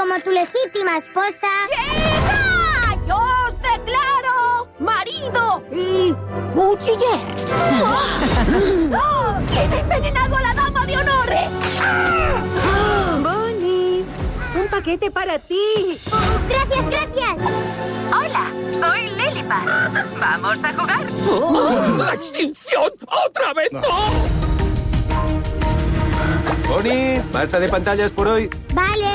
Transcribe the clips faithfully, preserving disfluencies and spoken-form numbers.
como tu legítima esposa... ¡Llega! ¡Yo os declaro marido y cuchiller! ¡Oh! ¿Quién ha envenenado a la dama de honor? Bonnie, un paquete para ti. Gracias, gracias. Hola, soy Lilipad. ¿Vamos a jugar? ¡Oh! ¡La extinción! ¡Otra vez no! Bonnie, basta de pantallas por hoy. Vale.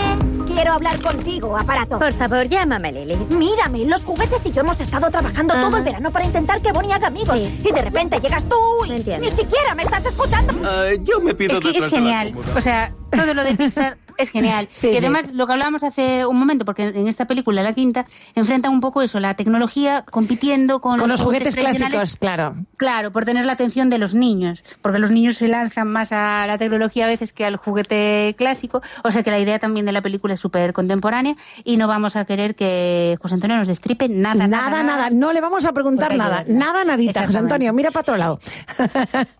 Quiero hablar contigo, aparato. Por favor, llámame, Lily. Mírame, los juguetes y yo hemos estado trabajando Ajá. todo el verano para intentar que Bonnie haga amigos. Sí. Y de repente llegas tú y Entiendo. ni siquiera me estás escuchando. Uh, yo me pido Es que es detrás de la genial. cómoda. O sea, todo lo de Pixar es genial. Sí, y además, sí. lo que hablábamos hace un momento, porque en esta película, la quinta, enfrentan un poco eso, la tecnología compitiendo con, Con los juguetes tradicionales. clásicos, claro. Claro, por tener la atención de los niños, porque los niños se lanzan más a la tecnología a veces que al juguete clásico, o sea que la idea también de la película es súper contemporánea y no vamos a querer que José Antonio nos destripe nada, Nada, nada, nada. no le vamos a preguntar Porque hay que nada. verla. Nada, nadita, José Exactamente. Antonio, mira para otro lado.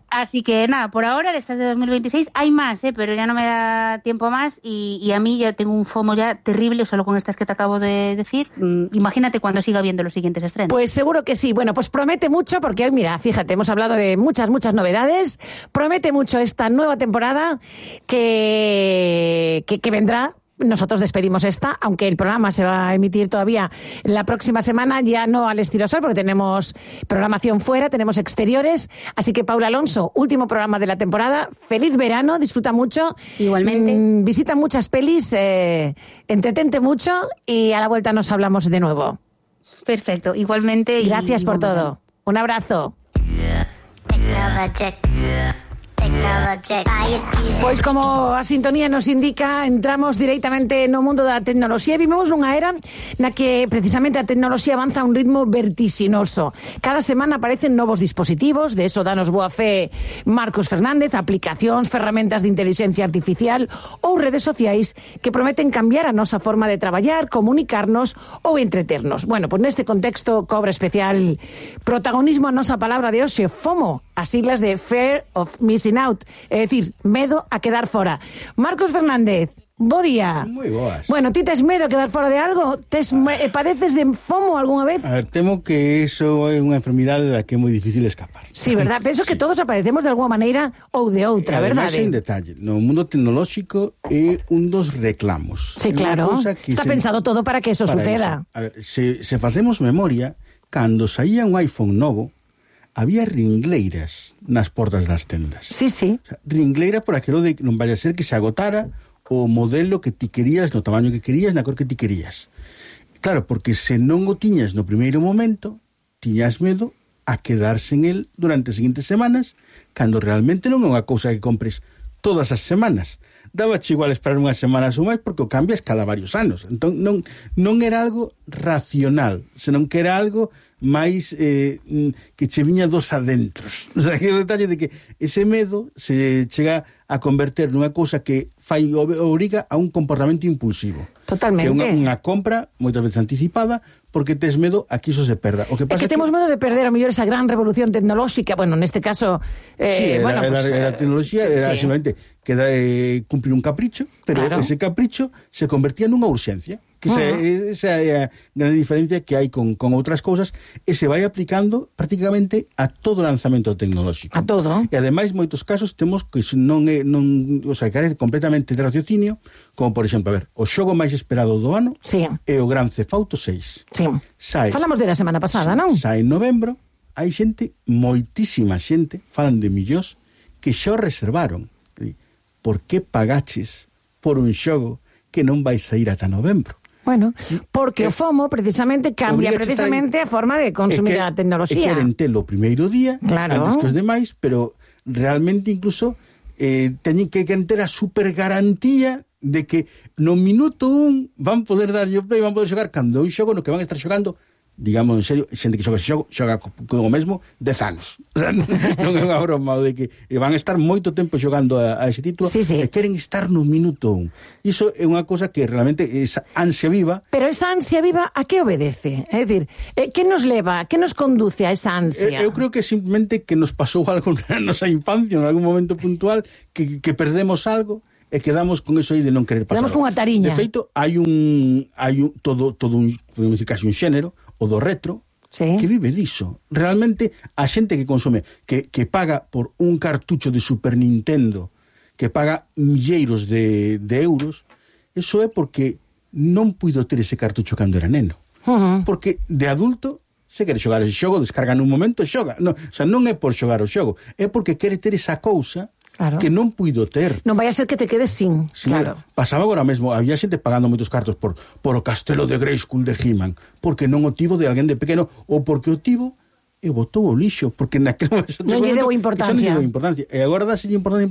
Así que nada, por ahora, de estas de dos mil veintiséis, hay más, ¿eh? Pero ya no me da tiempo más y, y a mí ya tengo un FOMO ya terrible solo con estas que te acabo de decir. Mm, imagínate cuando siga viendo los siguientes estrenos. Pues seguro que sí. Bueno, pues promete mucho, porque hoy, mira, fíjate, hemos hablado de muchas, muchas novedades. Promete mucho esta nueva temporada que, que, que vendrá. Nosotros despedimos esta, aunque el programa se va a emitir todavía la próxima semana, ya no al estilo Sol, porque tenemos programación fuera, tenemos exteriores. Así que, Paula Alonso, último programa de la temporada. Feliz verano, disfruta mucho. Igualmente. Mm, visita muchas pelis, eh, entretente mucho y a la vuelta nos hablamos de nuevo. Perfecto, igualmente. y- Gracias y por buen todo. Un abrazo. Pois como a sintonía nos indica, entramos directamente no mundo da tecnoloxía e vivimos nunha era na que precisamente a tecnoloxía avanza a un ritmo vertiginoso. Cada semana aparecen novos dispositivos, de eso danos boa fe Marcos Fernández, aplicacións, ferramentas de inteligencia artificial ou redes sociais que prometen cambiar a nosa forma de traballar, comunicarnos ou entreternos. Bueno, pois neste contexto cobra especial protagonismo a nosa palabra de hoxe, FOMO, as siglas de Fear of Missing Out, é dicir, medo a quedar fora. Marcos Fernández, bo día. Moi boas. Bueno, ti tes medo a quedar fora de algo? Tes, eh, padeces de FOMO algunha vez? A ver, temo que iso é unha enfermidade da que é moi difícil escapar. Sí, verdad? Penso que todos apadecemos de alguna maneira ou de outra, Ademais, verdade? en detalle, no mundo tecnolóxico é un dos reclamos. Sí, É unha claro. cousa que Está se- pensado todo para que eso para suceda. eso. A ver, se, se facemos memoria, cando saía un iPhone novo, había ringleiras nas portas das tendas. Sí, sí. O sea, ringleira por aquilo de que non vaya a ser que se agotara o modelo que ti querías, no tamaño que querías, na cor que ti querías. Claro, porque se non o tiñas no primeiro momento, tiñas medo a quedarse en el durante as seguintes semanas, cando realmente non é unha cousa que compres todas as semanas. Dábache igual esperar unhas semanas ou máis porque o cambias cada varios anos. Entón non, non era algo racional, senón que era algo máis eh, que che viña dos adentros. O sea, que o detalle de que ese medo se chega a converter nunha cousa que fai obriga a un comportamento impulsivo. Totalmente. Que é unha, unha compra moitas veces anticipada porque tes medo a que iso se perda. O que É pasa que temos medo de perder a mellor esa gran revolución tecnolóxica, bueno, neste caso eh, sí, era, bueno, era, pues, era, eh, tecnoloxía era sí. simplemente que da, eh, cumplir un capricho, pero Claro. ese capricho se convertía nunha urxencia. Que esa, Uh-huh. esa é a gran diferencia que hai con, con outras cousas e se vai aplicando prácticamente a todo lanzamento tecnolóxico. A todo. E ademais, moitos casos temos que iso non é, non, o sea, carece completamente de raciocinio, como por exemplo, a ver, o xogo máis esperado do ano Sí. é o Grand Theft Auto seis. Sí. Sai, Falamos de la semana pasada, non? Sai en novembro, hai xente, moitísima xente, falan de millóns, que xa o reservaron. Por que pagaches por un xogo que non vai sair ata novembro? Bueno, porque o FOMO precisamente cambia Obriga precisamente a forma de consumir É que- a tecnoloxía. E queren telo o primeiro día, Claro. antes que os demais, pero realmente incluso eh, teñen que ter a super garantía de que no minuto un van poder darlle o play, van poder xogar cando un xogo no que van a estar xogando, digamos en serio, xente que xoga ese xogo, xoga co, co o mesmo dez anos. O sea, non é unha broma de que van a estar moito tempo xogando a, a ese título Sí, sí. e queren estar no minuto un. Iso é unha cosa que realmente esa ansia viva. Pero esa ansia viva, a que obedece? É dicir, eh, que nos leva, que nos conduce a esa ansia? Eu, eu creo que simplemente que nos pasou algo na nosa infancia, en algún momento puntual, que, que perdemos algo, e quedamos con eso aí de non querer pasar. Quedamos con unha tariña. De feito, hai un hai un todo todo un, podemos dicir, casi un xénero, o do retro, sí, que vive diso. Realmente a xente que consume, que que paga por un cartucho de Super Nintendo, que paga milleiros de de euros, eso é porque non puido ter ese cartucho cando era neno. Uh-huh. Porque de adulto se quere xogar ese xogo, descarga nun momento e xoga. No, o sea, non é por xogar o xogo, é porque quere ter esa cousa, claro, que non puido ter. Non vai a ser que te quedes sin, sí, claro. Pasaba agora mesmo, había xente pagando moitos cartos por, por o castelo de Grayskull de He-Man, porque non o tivo de alguén de pequeno, ou porque o tivo e botou o lixo, porque naquele momento non lle deu importancia. Non lle deu importancia. E agora dáselle importancia,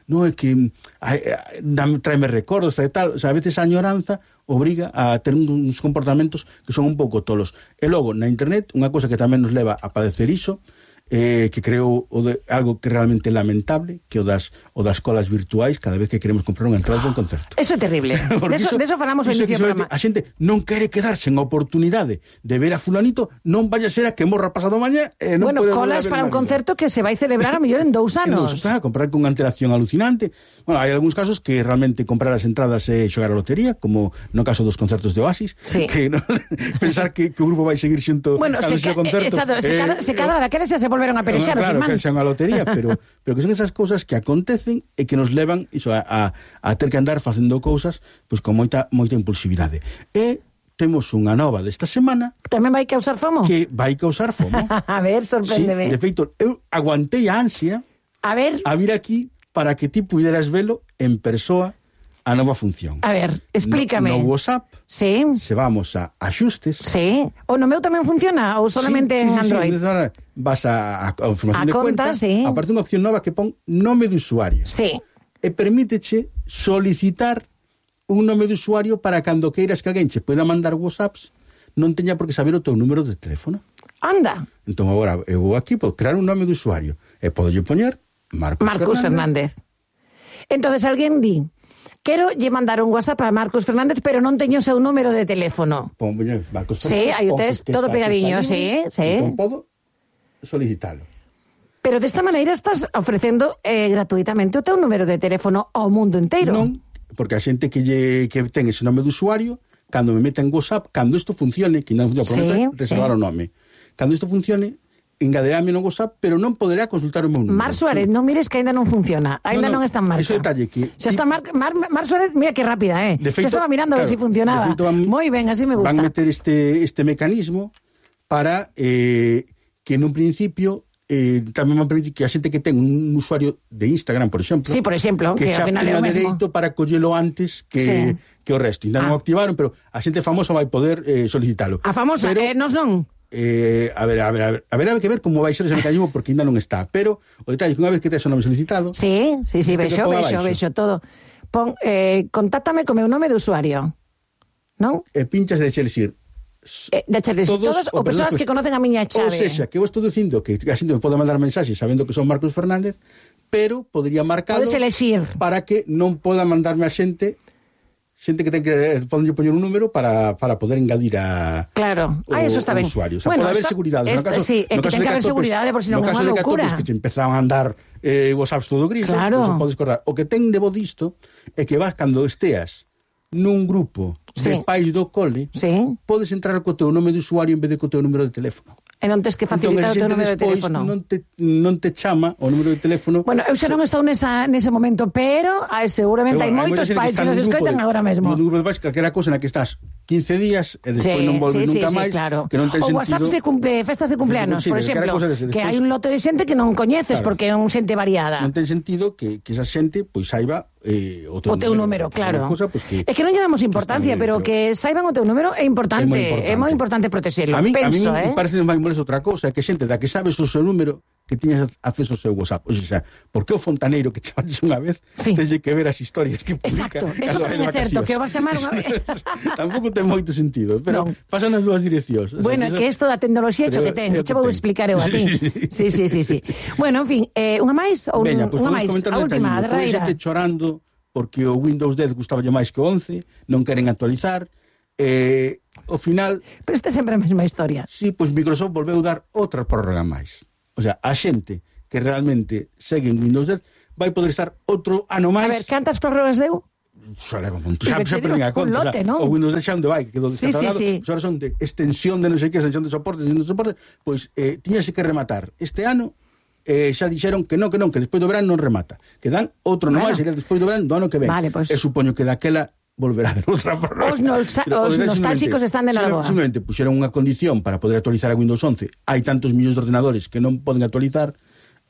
non é que ai, ai, tráeme recordos, trae tal, o sea, a veces a añoranza obriga a ter uns comportamentos que son un pouco tolos. E logo, na internet, unha cosa que tamén nos leva a padecer iso, eh, que creo o de, algo que realmente lamentable, que o das, o das colas virtuais cada vez que queremos comprar unha entrada de un concerto. Eso é terrible. De eso, iso, de eso falamos en inicio programa. A xente non quere quedarse en oportunidade de ver a fulanito, non vaya a ser a que morra pasado mañá. Eh, non bueno, colas para un concerto que se vai celebrar a mellor en dous anos. Está, comprar con unha antelación alucinante. Bueno, hai algúns casos que realmente comprar as entradas e xogar a lotería, como no caso dos concertos de Oasis, sí, que no, pensar que, que o grupo vai seguir xunto bueno, cando se, xe concerto. Exacto, se, eh, cada, se cadra daqueles xa se volveron a perexar os claro, irmáns. Que xa unha lotería, pero, pero que son esas cousas que acontecen e que nos levan iso, a, a, a ter que andar facendo cousas pois con moita moita impulsividade. E temos unha nova desta semana. Tamén vai causar fomo? Que vai causar fomo. A ver, sorpréndeme. Sí, de feito, eu aguantei a ansia a ver, a vir aquí para que ti puderas velo en persoa a nova función. A ver, explícame. No, no WhatsApp, sí, se vamos a axustes. Sí. O no meu tamén funciona ou solamente sí, sí, en Android? Sí, sí, vas a, a, a información a de conta, cuenta, sí, aparte unha opción nova que pon nome de usuario. Sí. E permíteche solicitar un nome de usuario para cando queiras que alguén che poida mandar WhatsApps non teña por que saber o teu número de teléfono. Anda. Entón agora eu vou aquí, podo crear un nome de usuario e podo lle poñer Marcos, Marcos Fernández. Fernández. Entonces alguén di, quero lle mandar un WhatsApp a Marcos Fernández, pero non teño o seu número de teléfono. Pon, Marcos Fernández. Sí, hai o test, todo pegadiño, sí, sí. Entón podo solicitalo. Pero desta maneira estás ofrecendo eh, gratuitamente o teu número de teléfono ao mundo inteiro. Non, porque a xente que, lle, que ten ese nome de usuario, cando me meta en WhatsApp, cando isto funcione, que non funciona, sí, reservar sí. o nome. Cando isto funcione, engadeame no WhatsApp, pero non poderá consultar o meu número. Mar Suárez, non mires que ainda non funciona, ainda no, no, non está en marcha. Ese detalle que... Xa está Mar, Mar, Mar Suárez, mira que rápida, eh? Xa estaba mirando claro, a ver si funcionaba. Moi ben, así me gusta. Van meter este, este mecanismo para eh, que nun principio eh, tamén van permitir que a xente que ten un usuario de Instagram, por exemplo, sí, por exemplo, que, que xa tenga dereito para collelo antes que, sí. que o resto. Ainda ah. non o activaron, pero a xente famosa vai poder eh, solicitalo. A famosa, pero, eh, nos non? Eh, a ver, a ver, a ver, a ver, a ver que ver como vai ser ese mecanismo porque ainda non está, pero o detalle é que unha vez que tes o nome solicitado, sí, sí, sí, vexo, vexo, vexo todo. Pon, eh, contáctame co meu nome de usuario, non? E pinchas de xelisir Eh, de todos, todos ou persoas que conocen a miña chave. Ou seja, que eu estou dicindo que a xente me pode mandar mensaxes sabendo que son Marcos Fernández, pero podría marcalo para que non poda mandarme a xente xente que ten que poden poñer un número para, para poder engadir a claro, ah, eso está ben. Usuario. O sea, bueno, pode haber esto, seguridade. Esto, no caso, sí, é que ten que haber seguridade por si non é unha locura. No caso de que empezaban a andar eh, WhatsApps todo gris, claro. Pues, podes correr. O que ten de bo disto é que vas cando esteas nun grupo sí. de pais do cole, sí. podes entrar co teu nome de usuario en vez de co teu número de teléfono. E non tes que facilitar entón, o teu número de teléfono. Non te, non te chama o número de teléfono. Bueno, eu xa non estou nesa, nese momento, pero ah, seguramente hai moitos pais que nos escoitan agora mesmo. Un grupo de pais, calquera cosa na que estás quince días e despois sí, non volve sí, nunca sí, máis, sí, claro. que non ten o sentido. O WhatsApps de cumple, festas de cumpleanos, sí, por exemplo, de que hai un lote de xente que non coñeces claro. porque é un xente variada. Non ten sentido que, que esa xente pois saiba eh, o teu, o teu número, número claro. Cosa, pues, que, é que non lle damos importancia, que pero, pero que saiban o teu número é importante, é moi importante, importante protexerlo. A mí, penso, a mí eh? me parece máis molesto outra cousa, que xente da que sabes o seu número que tiñas acceso ao seu WhatsApp. O sea, por que o fontaneiro que chamaches unha vez sí. teñe que ver as historias que publica? Exacto, eso tamén é certo, que o vas chamar unha vez. Tampouco ten moito sentido, pero no. pasan as dúas direccións. Bueno, é que isto da tecnoloxía cho que ten, que che vou explicar eu a ti. Sí, sí, sí, sí. Bueno, en fin, eh, unha máis ou Veña, pues unha máis, a última, a derradeira. Xente chorando porque o Windows dez gustaba máis que o once, non queren actualizar. Eh, ao final... Pero este é sempre a mesma historia. Sí, pois Microsoft volveu dar outra prórroga máis. O sea, a xente que realmente segue en Windows dez vai poder estar outro ano máis. A ver, cantas prórrogas deu? Xa leva un Xa, xa, xa digo, perdín a conta. un lote, xa, non? O Windows dez xa onde vai, que quedou Sí, descatalogado. sí, sí. Pois ahora son de extensión de non sei que, extensión de soporte, extensión de soporte, pois eh, tiñase que rematar este ano. Eh, xa dixeron que non, que non, que despois do verán non remata. Que dan outro ano Bueno. máis, sería despois do verán do ano que ven. Vale, pois. E supoño que daquela volverá a haber outra prórroga. Os nolsa- Pero, os o de- nostálxicos simplemente- están de Nalgoa. Simplemente puxeron unha condición para poder actualizar a Windows once. Hai tantos millóns de ordenadores que non poden actualizar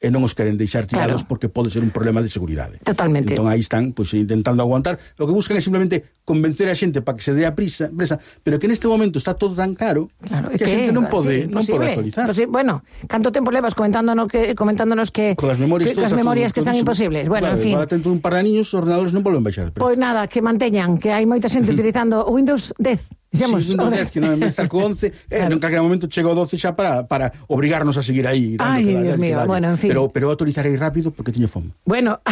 e non os queren deixar tirados Claro. porque pode ser un problema de seguridade. Totalmente. Entón aí están pues, intentando aguantar. O que buscan é simplemente convencer a xente para que se dé a prisa, presa, pero que neste momento está todo tan caro Claro, é que a xente non pode, sí, non pode imposible. actualizar. Posi- bueno, canto tempo levas comentándonos que comentándonos que Con as memorias, que, todo as está memorias todo- que están todísimo. imposibles. Bueno, Claro, en fin. igual atento un par de niños, os ordenadores non volven baixar. de prezo. Pois nada, que manteñan, que hai moita xente utilizando o Windows dez. Dixemos, Sí, Windows o dez, que non en vez de estar co once, eh, Claro. en calquera momento chega o doce xa para, para obrigarnos a seguir aí. dando Ai, que dale, Dios que mío, dale. bueno, en fin. Pero, pero actualizar aí rápido porque teño fome. Bueno,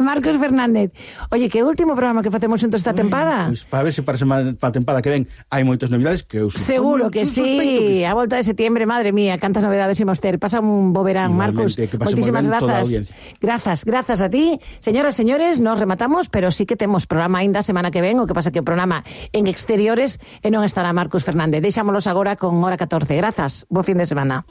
Marcos Fernández. Oye, que último programa que facemos xuntos esta tempada? Pois para ver se para, semana, para a tempada que ven hai moitas novidades que eu Seguro que sospeito sí. que A volta de septiembre, madre mía, cantas novedades imos ter. Pasa un bo verán, Marcos. Igualmente, que pase Moitísimas moi ben toda a grazas. audiencia. Grazas, grazas a ti. Señoras, señores, nos rematamos, pero sí que temos programa aínda a semana que ven, o que pasa que o programa en exteriores e non estará Marcos Fernández. Deixámolos agora con hora catorce. Grazas. Bo fin de semana.